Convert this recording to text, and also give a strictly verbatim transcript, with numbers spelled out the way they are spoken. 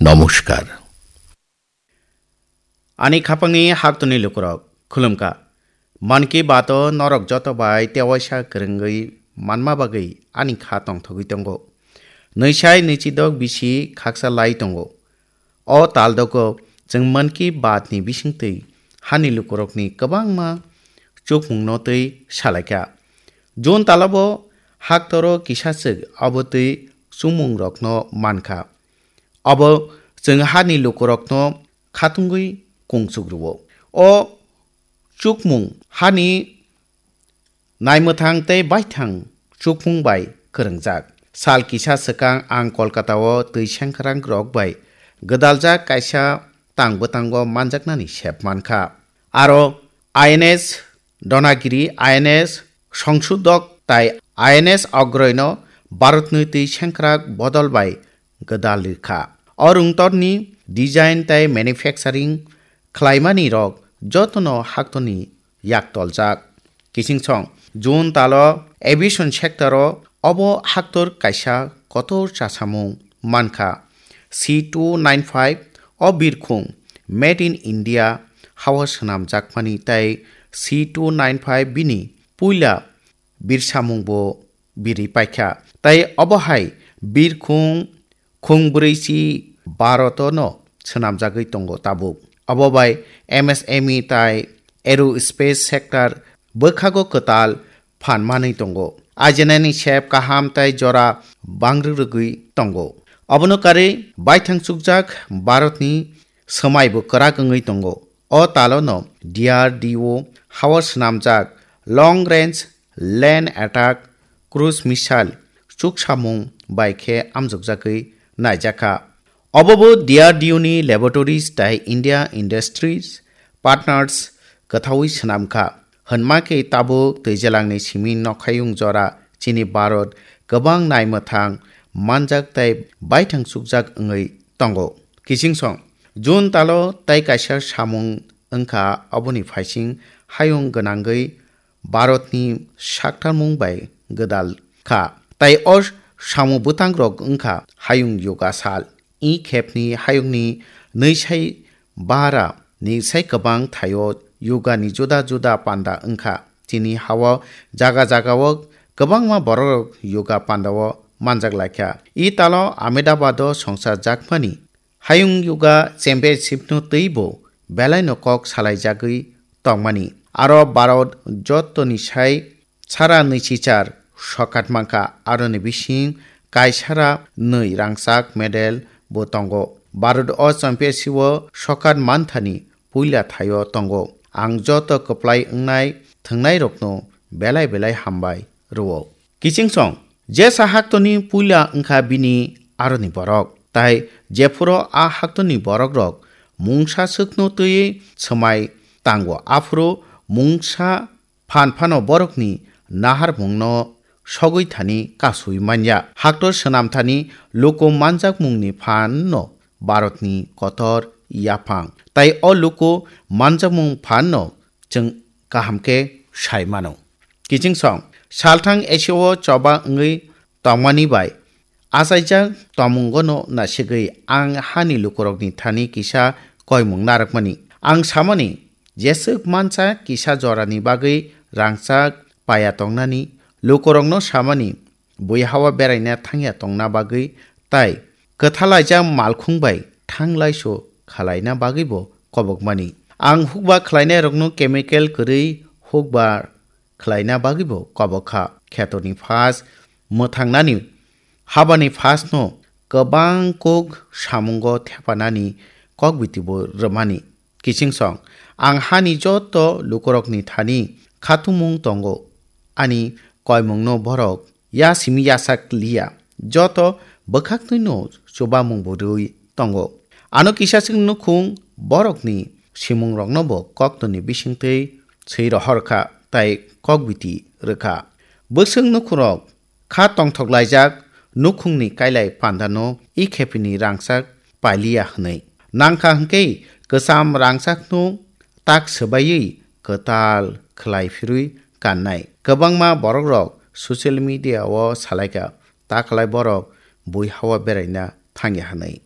নমস্কার। Ani khapangni haktoni lukurok, khulumkha. Mann Ki Baat-o norok joto bai tewaisa kwrwngwi manma bagwi ani kha tongthogwi tongo. Nwisai nwichidok bisi khaksa lai tongo. O taldogo chwng Mann Ki Baat-ni bisingtwi hani lukurokni kwbangma chukmungno twi salaikha. June talo bo haktoro kisachwk abo twi chukmungrokno mankha. Abo chwng hani lukurokno khatungwi kungchuk rwo. O chukmung hani naimwthang tei baithang chukmung bai kwrwngjak. Sal kisa swkang ang Kolkata-o twi sengkrakrok bai gwdaljak kaisa tang bwtango manjaknani sep mankha. Aro I N S Donagiri, I N S Songsudok tai I N S Ogroino Bharatni twi sengkrak bodol bai gwdal rikha. O rwngtorni design tai manufacturing khlaimani rok jotono haktorni yaktoljak. Kichingsong, June talo aviation sector-o obo haktor kaisa kotor chasamung mankha. C two nine five o birkhung Made in India hao swnamjakmani tei C two nine five bini puila birsamungbo birwi paikha. Tai obo hai birkhung khung brwi si Bharat-o no swnamjagwi tongo tabuk. Obo bai M S M E tai aerospace sector bwkhago kwtal phan manwi tongo. Ajinani sep kaham tai jora bangrwrwgwi tongo. Obono karwi baithang chukjak Bharatni swmaibo kwrak wngwi tongo. O talono D R D O hao swnamjak long range land attack cruise missile chuksamung bai khe amjokjagwi naijakha. Obobo D R D O ni laboratories tai India Industries Partners kwthaui swnamkha. Hwnma khe tabuk twijalangni simi nokhayung jora chini Bharat kwbang naimwthang manjak tai baithang chukjak wngwi tongo. Kichingsong, June talo tai kaisa samung wngkha, oboni phaising hayung gwnangwi Bharatni saktarmung bai gwdal kha. Tai o samung bwtangrok wngkha hayung yoga sal. I khepni hayungni nwisai bara ni sai kwbang thaio yoga ni juda juda panda wngkha. Chini hao jaga jagao kwbangma borok yoga pandao manjak laikha. I talo Ahmedabad o songsa jakmani Hayung Yoga Championship no twibo belaino kok salaijagwi tongmani. Aro Bharat jottoni sai sara nwichichar sokat mankha, aroni bising kaisara nwi rangchak medal bo tongo. Bharat o championship o sokat manthani puila thaio tongo. Ang joto kwplai wngnai thwngnairokno belai belai hambai rwo. Kichingsong, jesa haktoni puila wngkha bini aroni borok, tai jephuru a haktoni borokrok mungsa swkno twiwi swmai tango, aphuru mungsa phan phano borokni naharmungno sogwi thani kasui manya. Haktor swnam thani luku manjakmungni phanno Bharatni kotor yaphang, tai o luku manjakmung phanno chwng kaham khe sai mano. Kichingsong, salthang Asia-o choba wngwi tongmani bai achaijak tongmungono nasigwi ang hani lukurokni thani kisa koimung narwkmani. Ang samani, jeswk mansa kisa jorani bagwi rangchak paya tongnani, lukurokno samani, bui hao beraina thangya tongna bagwi tai kwthalaijak malkhung bai thanglaiso khalaina bagwibo kobokmani. Ang hukba khlainairokno chemical kwrwi hukba khlaina bagwibo kobok kha. Khetorni phas mwthangnani habani phasno kwbang kok samungo thepanani kokbitibo rwmani. Kichingsong, ang hani joto lukurokni thani khatumung tongo, ani koimungno borok ya simi yasak liya, joto bwkhaktwino chubamung bo rwi tongo. Ano kisa chwng nukhung borokni simungrokno bo koktwni bisingtwi swi rohor kha tai kokbiti rwkha. Bwswk nukhungrok kha tongthok laijak nukhungni kailai pandano i khepini rangchak pailiya hwnwi. Nangkha hwnkhe kwcham rangchakno tak swbaiwi kwtal khlai phirwi kannai. Kwbangma borokrok social media-o salaikha, ta khlai borok bui hao beraina thangya hwnwi.